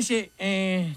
謝謝。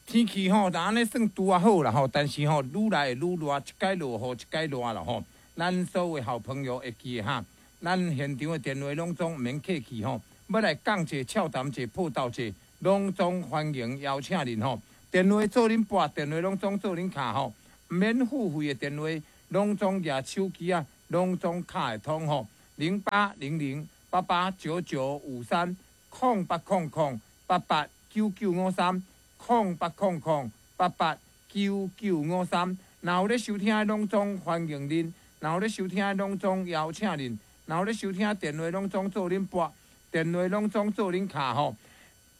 天氣吼，若按呢算拄仔好啦吼，但是吼，愈來會愈熱，一擺落雨，一擺熱啦吼。咱所有的好朋友會記得哈，咱現場的電話攏總毋免客氣吼，欲來講者、俏談者、報道者，攏總歡迎邀請恁吼。電話做恁撥，電話攏總做恁敲吼，毋免付費的電話，攏總舉手機仔，攏總敲會通吼。0800889953，0800889953，0800889953。若有咧收聽的，攏總歡迎恁；若有咧收聽的，攏總邀請恁；若有咧收聽電話，攏總做恁撥，電話攏總做恁敲吼。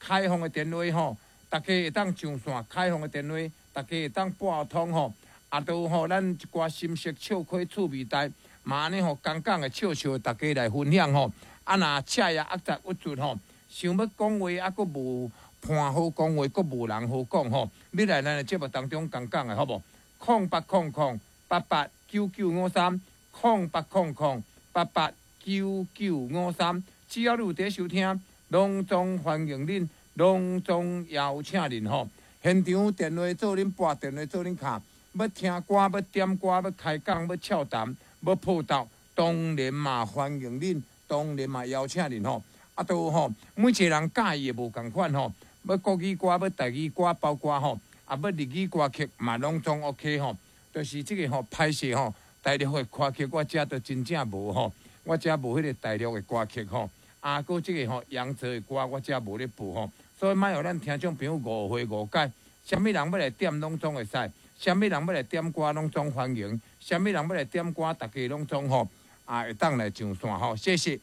開放的電話吼，大家會當上線；開放的電話，大家會當撥通吼。啊，都吼，咱一寡心事笑詼趣味代，嘛按呢吼，講講的笑笑，大家來分享吼。啊，若赤也壓雜鬱卒吼，想欲講話啊，閣無伴好講話，閣無人好講吼。你來咱的節目當中講講的好無？0800889953，0800889953。只要你有佇收聽，攏總歡迎恁，攏總邀請恁吼。現場電話做恁撥，電話做恁敲。欲聽歌，欲點歌，欲開講，欲俏談，欲報道，當然嘛歡迎恁，當然嘛邀請恁吼。啊，都吼，每一個人佮意的無仝款吼。欲國語歌，欲台語歌，包括吼，啊，欲日語歌曲嘛，攏總 OK 吼。就是這個吼，歹勢吼，大陸的歌曲我遮都真正無吼，我遮無彼個大陸的歌曲吼。啊，閣這個吼，洋浙的歌我遮無咧播吼。所以莫予咱聽眾朋友誤會誤解，啥物人欲來點攏總會使，啥物人欲來點歌攏總歡迎，啥物人欲來點歌，大家攏總吼啊會當來上線吼，謝謝。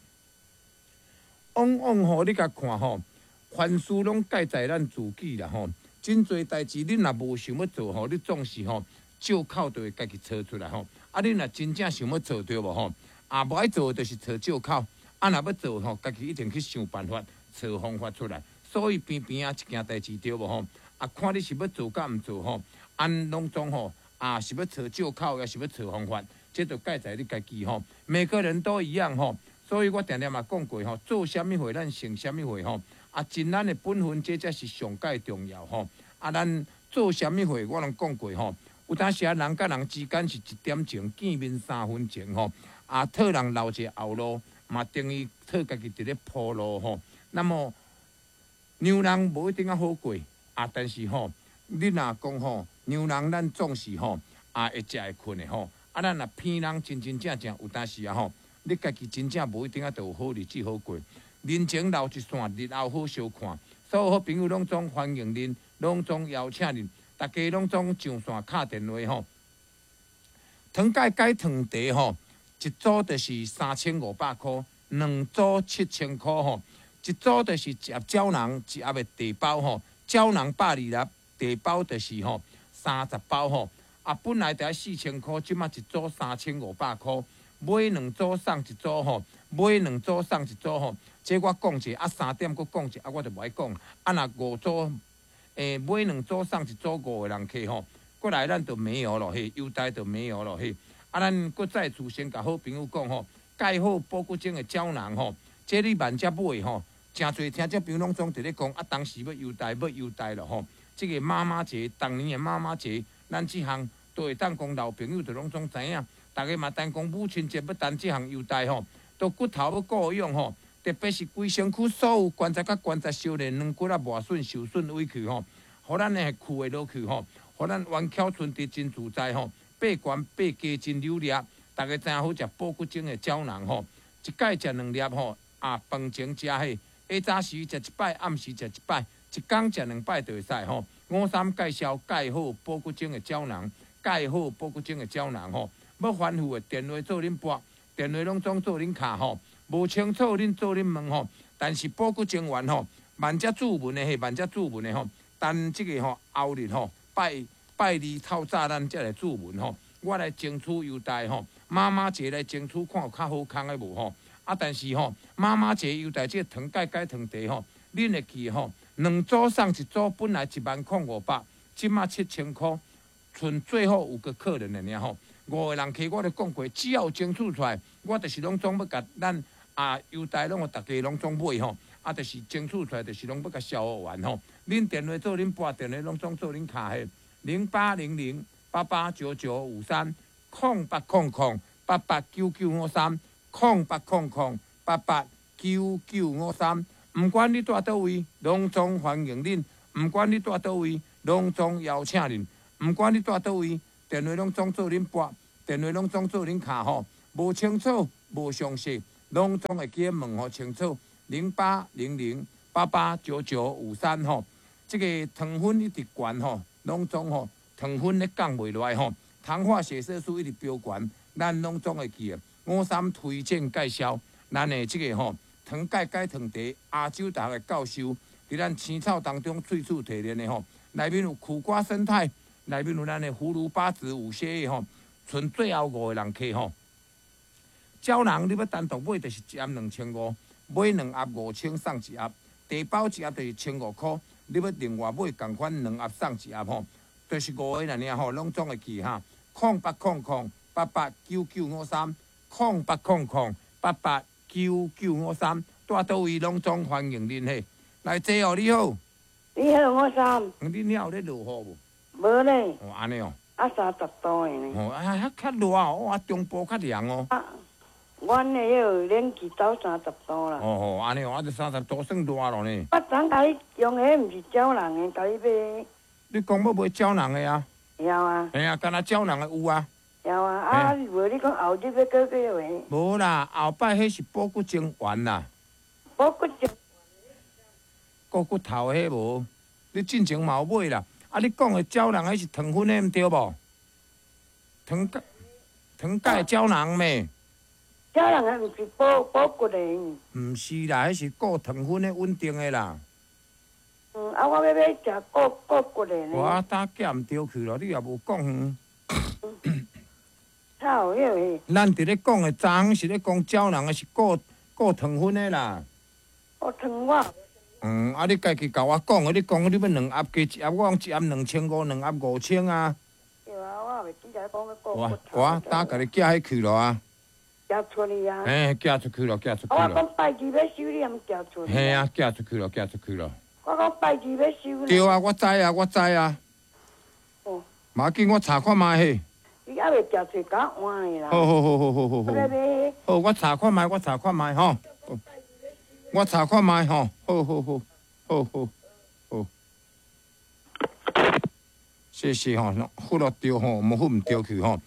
往往吼，你共看吼，凡事攏蓋在咱自己啦吼。真濟代誌，恁若無想欲做吼，你總是吼借口就會家己揣出來吼。啊，恁若真正想欲做對無吼？啊，無愛做就是揣借口，啊，若欲做吼，家己一定去想辦法，揣方法出來。所以邊邊仔一件代誌對無吼？啊，看你是欲做佮毋做吼，按攏總吼，啊是欲揣借口，抑是欲揣方法，這就蓋在你家己吼。每個人都一樣吼，所以我定定嘛講過吼，做啥物貨咱成啥物貨吼。啊，盡咱的本分，這才是上蓋重要吼。啊，咱做啥物貨，我攏講過吼。有當時啊，人佮人之間是一點情，見面三分情吼。啊，討人留一個後路，嘛等於討家己佇咧鋪路吼。那麼，讓人無一定仔好過啊，但是吼，你若講吼，讓人咱總是吼，啊會食會睏的吼。啊，咱若騙人真真正正有當時啊吼，你家己真正無一定仔就有好日子好過。人情留一線，日後好相看。所有好朋友攏總歡迎恁，攏總邀請恁，大家攏總上線敲電話吼。糖蓋解糖茶吼，一組就是3500箍，兩組7000箍吼。一組就是一盒膠囊，一盒的茶包吼，膠囊120粒，茶包就是吼30包吼。啊，本來就愛4000箍，這馬一組3500箍，買兩組送一組吼，買兩組送一組吼。這我講者，啊3點閣講者，啊我就無愛講。啊若五組，買兩組送一組五個人客吼，過來咱就沒有咯嘿，優待就沒有咯嘿。啊，咱閣再次先共好朋友講吼，蓋好保骨精的膠囊吼，這你萬遮買吼，誠濟聽眾朋友攏總佇咧講，啊當時欲優待欲優待咯吼。這個媽媽節，當年的媽媽節，咱這項都會當講老朋友就攏總知影，逐家嘛等講母親節欲等這項優待吼，都骨頭欲顧養吼，特別是規身軀所有關節佮關節相連，軟骨仔磨損受損委去吼，予咱的屈會落去吼，予咱彎翹伸直真自在吼，爬懸爬低真流利，逐家知影好食保骨精的膠囊吼，一擺食兩粒吼，啊飯前食彼，下早時食一擺，暗時食一擺，一工食兩擺就會使吼。五三介紹蓋好保骨精的膠囊，蓋好保骨精的膠囊吼，欲反覆的電話做恁撥，電話攏總做恁敲吼，無清楚恁做恁問吼。但是保骨精丸吼，萬遮注文的嘿，萬遮注文的吼，等這個吼後日吼拜拜二透早咱才來注文吼，我來爭取優待吼，媽媽節來爭取看有較好康的無吼。啊，但是吼，媽媽節優待這個糖蓋解糖茶吼，恁會記吼，兩組送一組，本來10500，這馬7000箍，賰最後五個客人的爾吼，五個人客我都講過，只要有爭取出來，我就是攏總欲共咱啊優待攏予逐家攏總買吼。啊，就是爭取出來，就是攏欲共消完吼。恁電話做恁撥電話，攏總做恁敲嘿，0800889953，0800889953，0800889953。毋管你蹛佗位，攏總歡迎恁；毋管你蹛佗位，攏總邀請恁；毋管你蹛佗位，電話攏總做恁撥，電話攏總做恁敲吼。無清楚，無詳細，攏總會記得問予清楚。0800889953吼，這個糖分一直懸吼，攏總吼糖分咧降袂落來吼，糖化血色素一直飆懸，咱攏總會記得。五三推薦介紹，咱的這個吼。糖鈣解糖茶，亞洲大學的教授，佇咱青草當中萃取提煉的吼，內面有苦瓜胜肽，內面有咱的葫蘆巴子五蠍葉吼，賰最後五个人客吼。膠囊你欲單獨買就是一盒2500，買兩盒5000送一盒，茶包一盒就是1500箍，你欲另外買仝款兩盒送一盒吼，就是五个爾吼，攏總會記哈。0800889953，0800889953，蹛佗位攏總歡迎恁嘿。來坐哦，你好。你好，我三。恁遐有咧落雨無？無咧。哦，按呢哦。啊，30度的呢。哦，啊，遐較熱哦，啊，中部較涼哦。啊，阮的彼個冷氣走三十度啦。哦哦，按呢哦，啊，這三十度算熱咯呢。我昨共你用的毋是膠囊的，共你買。你講欲買膠囊的啊？有啊。嘿啊，敢若膠囊的有啊。有啊，啊，無你講後日欲閣叫的。無啦，後擺彼是補骨精丸啦。補骨精。顧骨頭彼無，你進前嘛有買啦。啊，你講的膠囊彼是糖分的毋對無？糖鈣糖鈣膠囊咩？膠囊的毋是補補骨的。毋是啦，彼是顧糖分的穩定的啦。嗯，啊，我欲買食顧顧骨的呢。我搭寄毋著去咯，你也無講遠。臭，彼個。咱佇咧講的昨昏是咧講膠囊的是顧顧糖分的啦。顧糖我。嗯，啊！你家己共我講的，你講你欲兩盒加一盒，我講一盒2500，兩盒5000啊。對啊，我也袂記得講欲顧我骨頭。我搭共你寄彼去咯啊。寄出去啊。嘿，寄出去咯，寄出去咯。我講拜二欲收，你也毋寄出去。嘿啊，寄出去咯，寄出去咯。我講拜二欲收。對啊，我知啊，我知啊。哦。無要緊，我查看覓嘿。你猶未寄出，共我換的啦。好好好好好好好。好，我查看覓，我查看覓吼。我查看覓吼，好好好，好好好，謝謝吼，付了著吼，無付毋著去吼。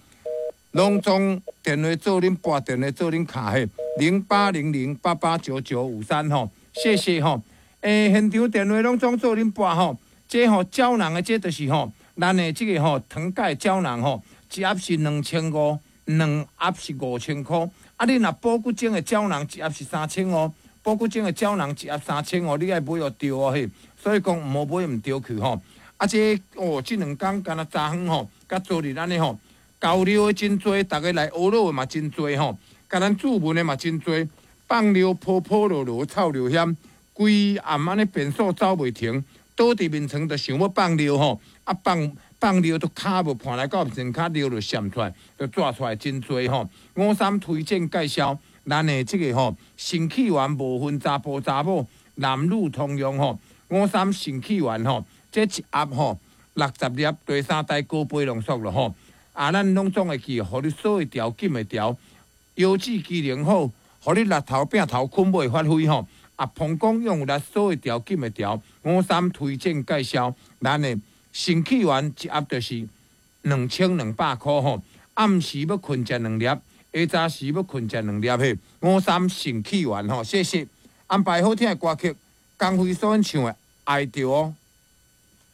攏總電話做恁撥電話做恁敲嘿，0800889953吼，謝謝吼。欸，現場電話攏總做恁撥吼，這吼膠囊的這就是吼，咱的這個吼糖鈣膠囊吼，一盒是2500，兩盒是5000箍。啊，你若補骨精的膠囊一盒是3500。補骨精的膠囊一盒3500，你愛買予著哦嘿，所以講毋好買毋著去吼。啊這，哦，這兩工敢若昨昏吼，佮昨日按呢吼，交流的真濟，逐家來學樂的嘛真濟吼，共咱注文的嘛真濟，放尿泡泡落落臭尿險，規暗按呢便所走袂停，倒佇眠床就想欲放尿吼，啊放放尿都跤無盤來到前跤尿就滲出來，就紙出來真濟吼。五三推薦介紹。咱的這個吼，腎氣丸無分查埔查某，男女通用吼。五三腎氣丸吼，這一盒吼60粒，第三代高倍濃縮咯吼。啊，咱攏總會記，予你鎖會牢，緊會牢，腰子機能好，予你日頭拚頭睏尾發揮吼。啊，膀胱用力鎖會牢，緊會牢。五三推薦介紹，咱的腎氣丸一盒就是2200箍吼。暗時欲睏食兩粒。下早時欲睏食兩粒嘿，五三腎氣丸吼，謝謝。安排好聽的歌曲，江蕙所演唱的《愛著哦》。